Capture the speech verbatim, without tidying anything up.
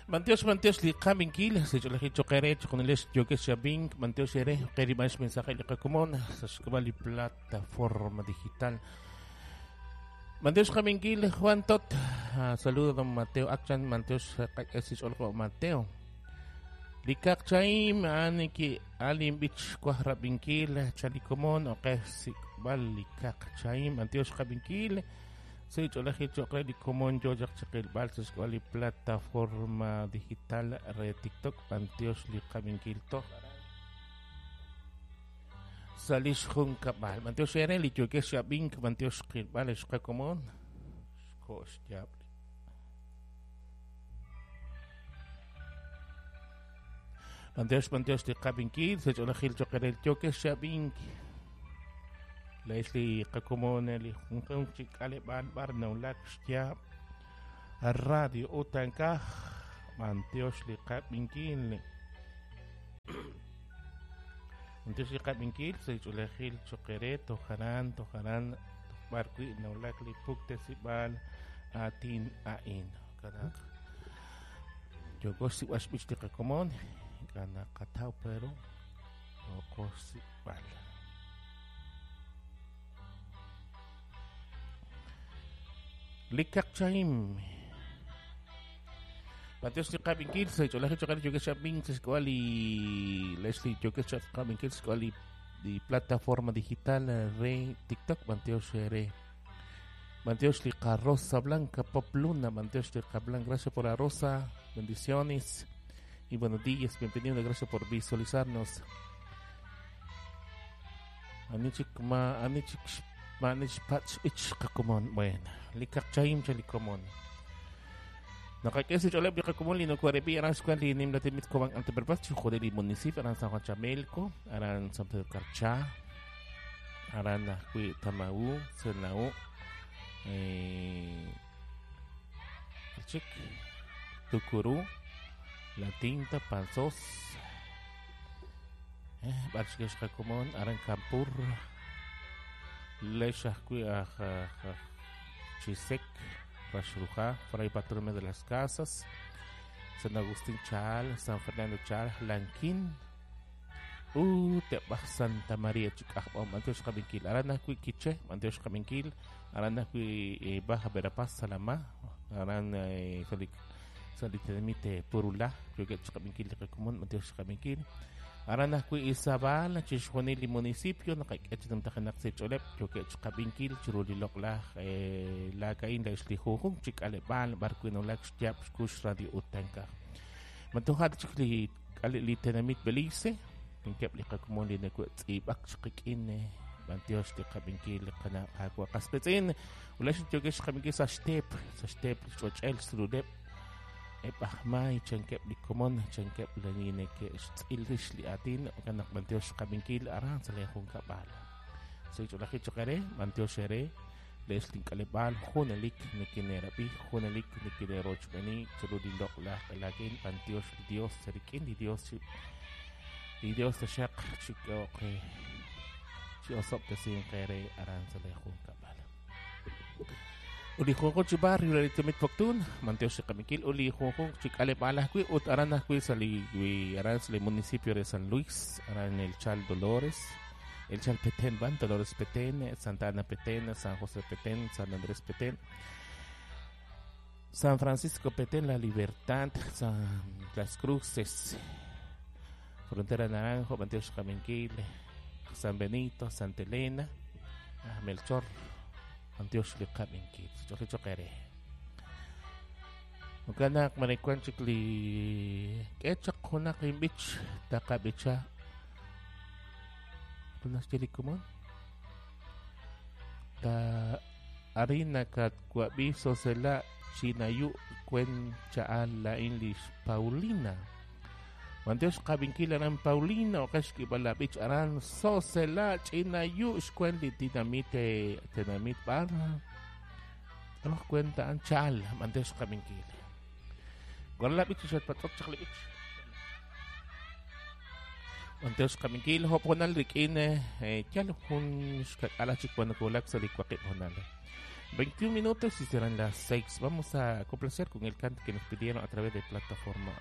Mantiox, mantiox, li qabinkil, secholaji choqere, choqonilex, yokex xabink, mantiox ere, qeribax mensaje li qakomon, sashkabal li plataforma digital. Mantiox qabinkil, Juan Tot, ah, saludo don Mateo Akchan, mantiox qak'esich olqo Mateo. Likakchaim, aniki alim bich kuajrabinkil, chalikomon, oqesikbal likakchaim, mantiox qabinkil. Sí, cholaji chokre li komon yo chakil balsas li plataforma digital re TikTok mantiox li qabinkil to salish jun kabal mantiox ere li yokex abink mantiox qilbal xqakomon xkox yab mantiox mantiox li qabinkil se cholajil chokre li yokex abink Leslie qakomon li junjun chik'aleb'al bar nawlak xya radio utankaj mantiox li qabinkil mantiox li qabinkil sech'ulejil choqere tojaran tojaran tojb'ar wi nawlak li puktesib'al atin a'in kanak yokox sib'ax b'ich li qakomon kanak qataw pero yokox sib'al Likakchaim. Mantiox li qabinkil, sech'olaji choqere yokex abink sexk'oal li Leslie yokex qabinkil sexk'oal li di plataforma digital re TikTok mantiox re mantiox li Rosa Blanca Pop Luna mantiox li Blanca, gracias por la rosa, bendiciones y buenos días, bienvenido, gracias por visualizarnos. Anichik ma anichik manich patch ich qakomon bueno likakchaim chalikomon nakakesi choleb liqakomon linokuarepi aran xkuan li nimlatimit koban anteperpas chujode li municipio aran San Juan Chamelco aran San Pedro Carchá aran ajwi Tamaú Senaú eh Chik Tucurú La Tinta Panzós eh barchikesh qakomon aran Campur Lesh ajwi aj Chisek, Raxruja, Fray Bartolomé de las Casas, San Agustín Chal, San Fernando Chal, Lanquín, uh, Tebaj Santa María, Chicajbom, Mantiox Qabinkil, Aran ajwi Quiché, Mantiox Qabinkil, Aran ajwi Baja Verapaz, Salamá, Aran Salitenimite Purulá, creo que Qabinkil, Común, Mantiox Qabinkil. Aran ajwi Izabal, chixjunil li municipio, naqak'ech namtajinak sech'oleb, yokech qabinkil, chiru li loq'laj lakain la ixli junjun chik'aleb'al, barwi nawlak xyab xkux radio utankaj. Mantojat chik li li tenamit Belice, inkeb' li qakomon li nakutz'ib'ak xqik'in, mantiox li qabinkil qana qaqwa qaspetz'in, ulax yokech qabinkil sa xtep, sa xtep xch'och'el xruleb' Epajmay, chankeb li komon, chankeb li neke xtz'il rix li atin, kanak mantiox qabinkil aran sa lejun kabal. Soy cholaji chokere, mantiox ere, les link'aleb'al, junelik nekinerabi, junelik nekinerochbeni, churu li loq'laj q'elakin, mantiox li Dios, serikin li Dios, li Dios taxaq chik'oqe, chi'osob tesin qere aran sa lejun kabal. Uli junjun chi barrio la litemit Poptún, mantiox qamikil, uli junjun chi k'aleb'al ajwi' ut aran ajwi' sa li wi aran sa li municipio de San Luis, aran el Chal Dolores, el Chal Petén van, Dolores Petén, Santa Ana Petén, San José Petén, San Andrés Petén, San Francisco Petén, La Libertad, San Las Cruces, Frontera Naranjo, mantiox qaminkil, San Benito, Santa Elena, Melchor, Mantiox li qabinkil, chokli chokere. Maganak marikuan chikli kechak hunak imbich takabicha. Kunas chili kumon? Ta arina kat kuabi sosela chinayu kuen chaal la inlish Paulina. Mantiox qabinkil aran Paulina o kashki balabich aran sosela chinayu xkuen li dinamite tenamit bar. Ano kwenta ang chal mantiox qabinkil. Gorla bich shat patok chakli bich. Mantiox qabinkil hoponal rikin eh chal hun xkakala chikwan kulak sa likwakip honal. veintiún minutos y serán las seis. Vamos a complacer con el canto que nos pidieron a través de plataforma